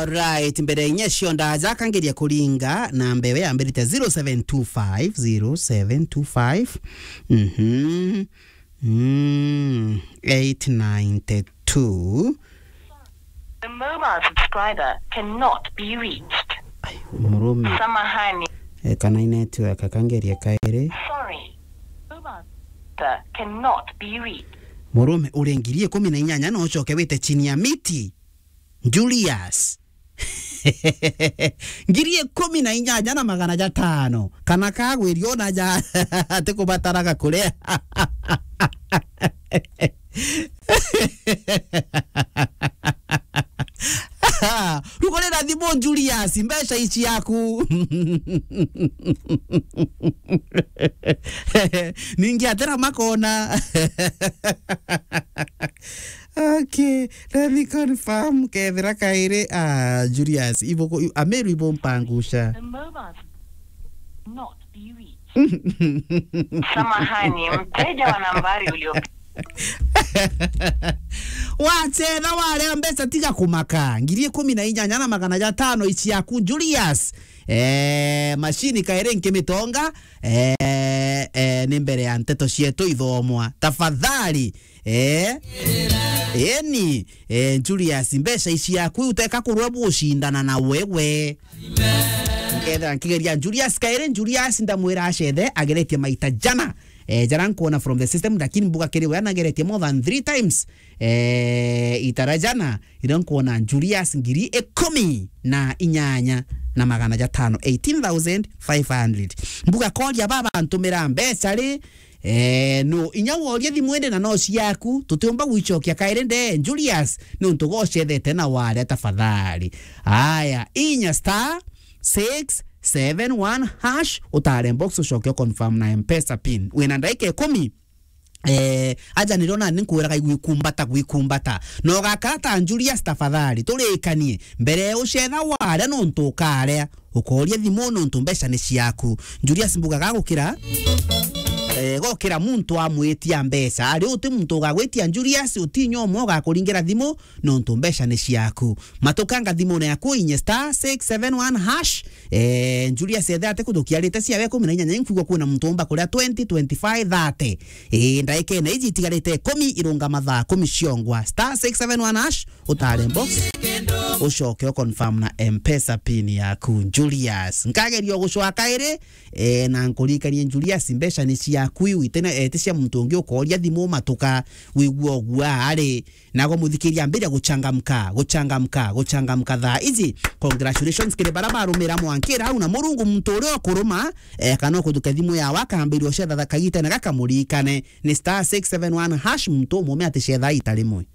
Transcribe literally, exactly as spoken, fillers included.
Right, mbere inya cio ndaja kangeria kuringa na mbewe yambirite zero seven two five, zero seven two five. Mhm. Mm, eight ninety-two. The mobile subscriber cannot be reached. Ai, murume. Samahani. E, kana i network, kangerie kairi. Sorry. Mobile subscriber cannot be reached. Murume, uri ngiri ikumi na inyanya no ucoke wite chini ya miti. Julius. Ngiri ikumi na inyanya na magana jatano. Kana kagwirio na ja, ati kubataraga kuria. Rugurira thimu Julius, mbeca ici yaku. Ningi atira makona. Okay, let me confirm kethira kairi, ah, Julius, ibo, Ameru ibo mpangusha. The mobile not be reached. Samahani, mteja wa nambari ulio Wachetha waria mbeca tiga kumaka. Ngiri ikumi na inyanya na magana jatano ici yaku, Julius. Eh, mashini kairi nkimitonga. Eh, eh, ni mbere ya nteto cietu ithomwa. Tafadhali. Eh? Eni, eh, Julius, mbeca ici yaku uteka kurwa bucindana na wewe. Nkethira nkigeria Julius kairi, Julius ndamwira achethe, ageretie maita jana. Eh, jara nkuona from the system, lakini mbuga kiri we anageretie more than three times. Eh, itara jana, iria nkuona Julius ngiri ikumi na inyanya na magana jatano, eighteen thousand five hundred. Mbuga koria baba ntumira mbeca ri, Eh, no, inya woria thimu indi na no ciaku, tutiumba gwicokia kairi nde, Julius, niuntu gocethete na waria tafadhali. Aya, inya star six seven one hash, utare box ucoke confirm na M-Pesa pin. Wina ndaika ikumi, eh, aja nirona ninkwiraga igwikumbata, gwikumbata. No gakara ta Julius tafadhali, turikanie, mbere ucetha waria niuntu ukaria. Ukoria thimu nontu mbeca ni ciaku. Julius mbuga gagukira, eh, gokira muntu amwitia mbeca. Ari uti muntu ugagwitia Julius, uti inya umwe ugakuringira thimu nontu mbeca ni ciaku. Matukanga thimune yaku inye star six seven one hash. Eh, Julius ethe ati kuthukia rite ciawe ikumi na inyanya, inkwigua kwina muntu umba kuria twenty, twenty-five, thirty. Eh, ndaikene iji itigarite ikumi irunga mathaa ikumi ciongwa. Star six seven one hash. Utare box, ucoke u confirm na M-Pesa pin yaku, Julius. Nkageria gucwa kairi, eh, na nkuririkanie, Julius, mbeca ni ciaku iu, itene, eh, ti cia muntu ungi ukoria thimu matuka, wigua uguo ari. Nago muthikiria, ambiria guchangamka, guchangamka, guchangamka thaa iji. Congratulations kiri bara barumira mwankira au, na Murungu muntu uria ukuruma, eh, kana ukuthukia thimu yawe akambiria ucetha kagitene gaka muririkane. Ni star six seven one hash, muntu umume aticetha ita rimwe.